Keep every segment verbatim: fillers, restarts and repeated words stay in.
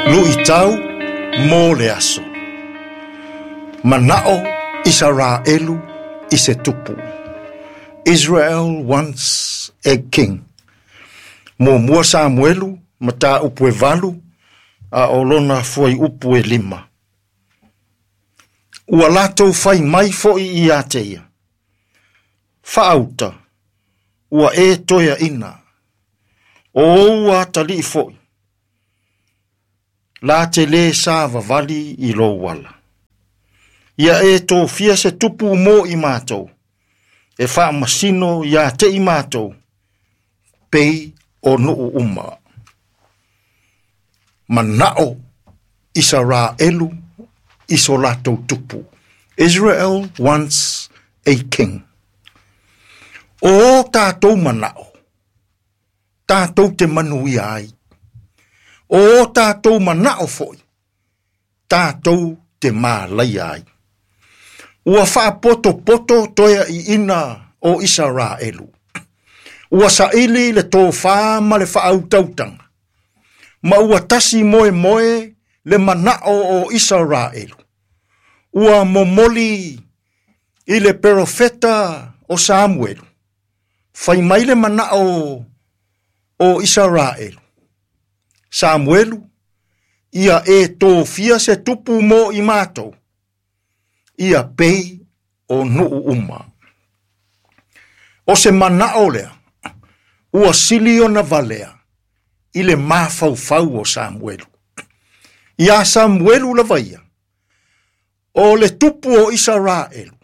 Luʻitau mo le aso. Manaʻo Isaraelu i se tupu. Israel wants a king. Muamua Samuelu, mataupu e valu, a o lona fuaiupu e lima. Ua latou fai mai foʻi ia te ia. Faauta, ua e toeaʻina. O ou atalii foʻi. La te lē savavali i lou ala. Ia e tofia se tupu mo i matou. E faamasino ia te i matou. Pei o nuu uma. Manaʻo Isaraelu i so latou tupu. Israel wants a king. O o tatou manaʻo. Tatou te manuia ai. O o tatou manaʻo foʻi. Tatou te malaia ai. Ua faapotopoto toeaʻiina o Isaraelu. Ua saʻili le tofā ma le faautautaga. Ma ua tasi moemoe le manaʻo o Isaraelu. Ua momoli i le perofeta o Samuelu. Fai mai le manaʻo o Isaraelu. Samuelu, ia e tofia se tupu mo i matou. Ia pei o nuu uma. O se manaʻo lea, ua sili ona valea i le mafaufau o Samuelu. Ia Samuelu lava ia, o le tupu o Isaraelu,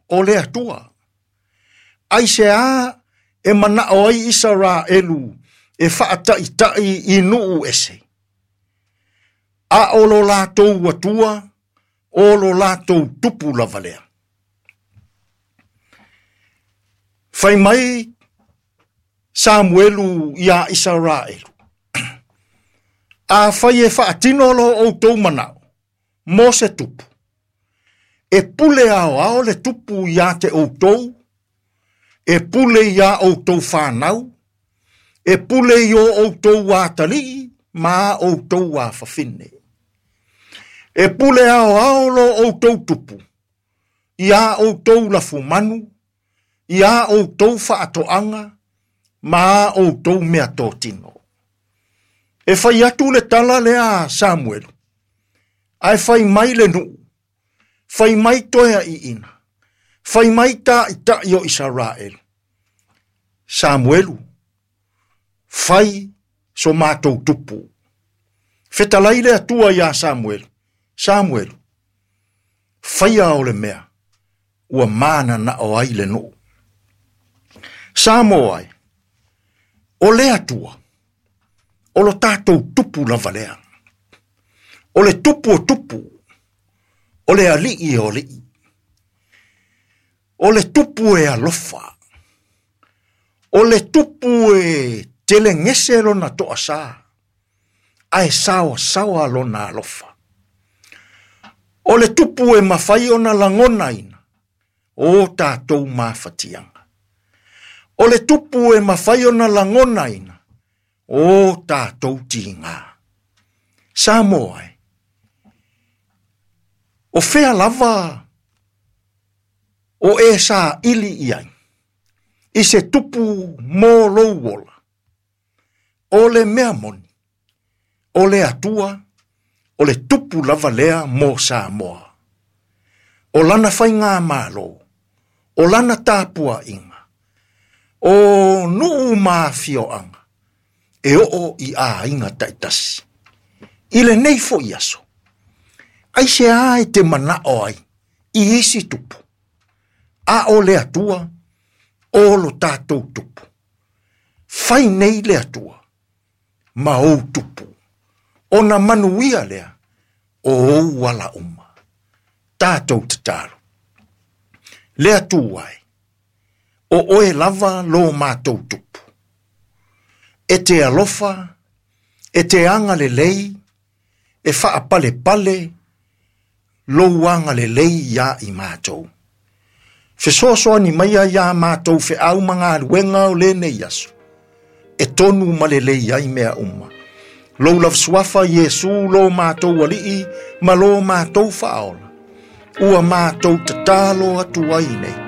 o le Atua. Aiseā e manaʻo ai Isaraelu e faataʻitaʻi i nuu ese. A o lo latou Atua, o lo latou tupu lava lea. Fai mai Samuelu ia Isaraelu. A fai e faatino lo outou manaʻo, mo se tupu. E pule aoao le tupu ia te outou, e pule ia outou fanau, e pule i o outou atalii, ma outou afafine. E pule aoao lo outou tupu, ia outou lafumanu, ia outou faatoaga, ma outou meatotino. E fai atu le tala lea a Samuelu, ae fai mai le nuu, fai mai toeaʻiina, fai mai taʻitaʻi o Isaraelu. Samuelu, fai so matou tupu. Fetalai le Atua iā Samuelu, Samuelu, faia o le mea, ua mananaʻo ai le nuu. Samoa ai, o le Atua, o lo tatou tupu lava lea. O le tupu o tupu, o le alii o alii. O le tupu e alofa. O le tupu e telegese lona toasā, ae saoasaoa lona alofa. O le tupu e mafai ona lagonaina, o tatou mafatiaga. O le tupu e mafai ona lagonaina, o tatou tiga. Samoa e, o fea lava o e saʻili i ai, i se tupu mo lou ola. O le mea moni, o le Atua, o le tupu lava lea mo Samoa. O lana faigamalo, o lana tapuaʻiga, o nuu ma afioaga, e oo i aiga taʻitasi. I lenei foʻi aso, aiseā e te manaʻo ai i isi tupu. A o le Atua, o lo tatou tupu. Fai nei le Atua, ma ou tupu. Ona manuia lea, o ou ala uma. Tatou tatalo. Le Atua e, o oe lava lo matou tupu. E te alofa, e te agalelei, e faapalepale lou agalelei ia i matou. Fesoasoani mai ia matou feau ma galuega o lenei aso. E tonu ma lelei ai mea uma. Lou lava suafa Iesu lo matou alii ma lo matou faaola. Ua matou tatalo atu ai nei.